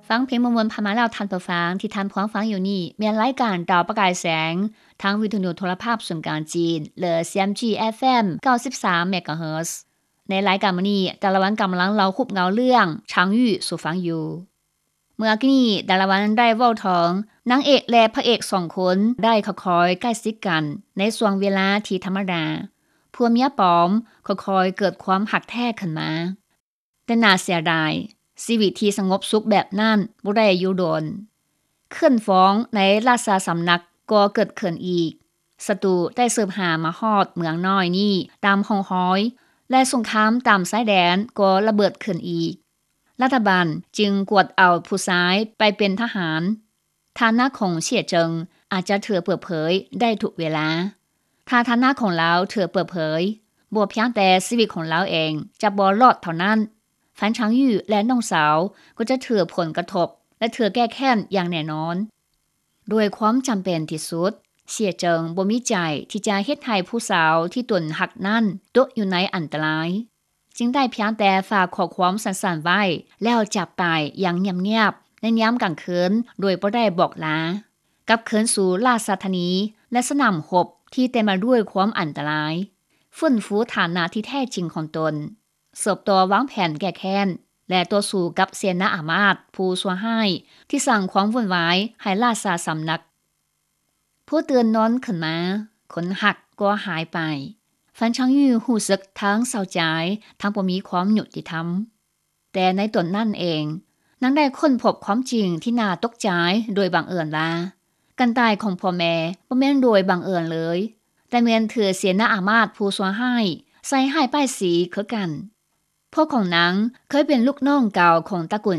ຟັງເພງມ່ວນໆ ຜ່ານມາແລ້ວ ທ່ານຜູ້ຟັງ ທີ່ທ່ານພວມຟັງຢູ່ນີ້ ແມ່ນລາຍການດາວປະກາຍແສງ ທາງວິທະຍຸໂທລະພາບສູນກາງຈີນ ຫຼື CMG FM ເກົ້າສິບສາມ MHz. ໃນລາຍການມື້ນີ້ ດາລາວັນກຳລັງເລົ່າຮູບເງົາເລື່ອງ ຊາງຢູ່ ສູ່ຟັງຢູ່. ເມື່ອກີ້ນີ້ ດາລາວັນໄດ້ເວົ້າເຖິງນາງເອກ ແລະ ພະເອກສອງຄົນ ໄດ້ຄ່ອຍໆໃກ້ຊິດກັນ ໃນຊ່ວງເວລາທີ່ທຳມະດາ ຜົວເມຍປອມຄ່ອຍໆເກີດຄວາມຮັກແທ້ຂຶ້ນມາ. ແຕ່ໜ້າເສຍດາຍ, ຊີວິດທີ່ສະຫງົບສຸກແບບນັ້ນບໍ່ໄດ້ຢູ່ດົນ. ເຄື່ອນຟອງໃນລາຊະສຳນັກກໍເກີດຂຶ້ນອີກ. ສັດຕູໄດ້ສືບຫາມາຮອດເມືອງນ້ອຍນີ້ຕາມຮ່ອງຮອຍ ແລະ ສົງຄາມຕາມຊາຍແດນກໍລະເບີດຂຶ້ນອີກ. ລັດຖະບານຈຶ່ງກວດເອົາຜູ້ຊາຍໄປເປັນທະຫານ. ຖານະຂອງເສຍເຈິງອາດຈະຖືກເປີດເຜີຍໄດ້ທຸກເວລາ. ຖ້າຖານະຂອງລາວຖືກເປີດເຜີຍ, ບໍ່ພຽງແຕ່ຊີວິດຂອງລາວເອງຈະບໍ່ລອດເທົ່ານັ້ນ, ຟານຊາງຢູ່ ແລະ ນ້ອງສາວກໍຈະຖືກຜົນກະທົບ ແລະ ຖືກແກ້ແຄ້ນຢ່າງແນ່ນອນ. ດ້ວຍຄວາມຈຳເປັນທີ່ສຸດ, ເສຍເຈິງບໍ່ມີໃຈທີ່ຈະເຮັດໃຫ້ຜູ້ສາວທີ່ຕົນຮັກນັ້ນຕົກຢູ່ໃນອັນຕະລາຍ. ຈຶ່ງໄດ້ພຽງແຕ່ຝາກຂໍ້ຄວາມສັ້ນໆໄວ້ ແລ້ວຈາກໄປຢ່າງງຽບໆໃນຍາມກາງຄືນໂດຍບໍ່ໄດ້ບອກລາ, ກັບຄືນສູ່ລາຊະທານີ ແລະ ສະໜາມຮົບທີ່ເຕັມໄປດ້ວຍຄວາມອັນຕະລາຍ, ຟື້ນຟູຖານະທີ່ແທ້ຈິງຂອງຕົນ, ສືບຕໍ່ວາງແຜນແກ້ແຄ້ນ ແລະ ຕໍ່ສູ້ກັບເສນາອາມາດຜູ້ຊົ່ວຮ້າຍທີ່ສ້າງຄວາມວຸ່ນວາຍໃຫ້ລາຊະສຳນັກ. ພໍຕື່ນນອນຂຶ້ນມາ, ຄົນຮັກກໍຫາຍໄປ. ຟານຊາງຢູ່ຮູ້ສຶກທັງເສົ້າໃຈ ທັງບໍ່ມີຄວາມຍຸຕິທຳ. ແຕ່ໃນຕອນນັ້ນເອງ, ນາງໄດ້ຄົ້ນພົບຄວາມຈິງທີ່ໜ້າຕົກໃຈໂດຍບັງເອີນວ່າ, ການຕາຍຂອງພໍ່ແມ່ບໍ່ແມ່ນໂດຍບັງເອີນເລີຍ, ແຕ່ແມ່ນຖືກເສນາອາມາດຜູ້ຊົ່ວຮ້າຍໃສ່ຮ້າຍປ້າຍສີຄືກັນ. ພໍ່ຂອງນາງເຄີຍເປັນລູກນ້ອງເກົ່າຂອງຕະກູນ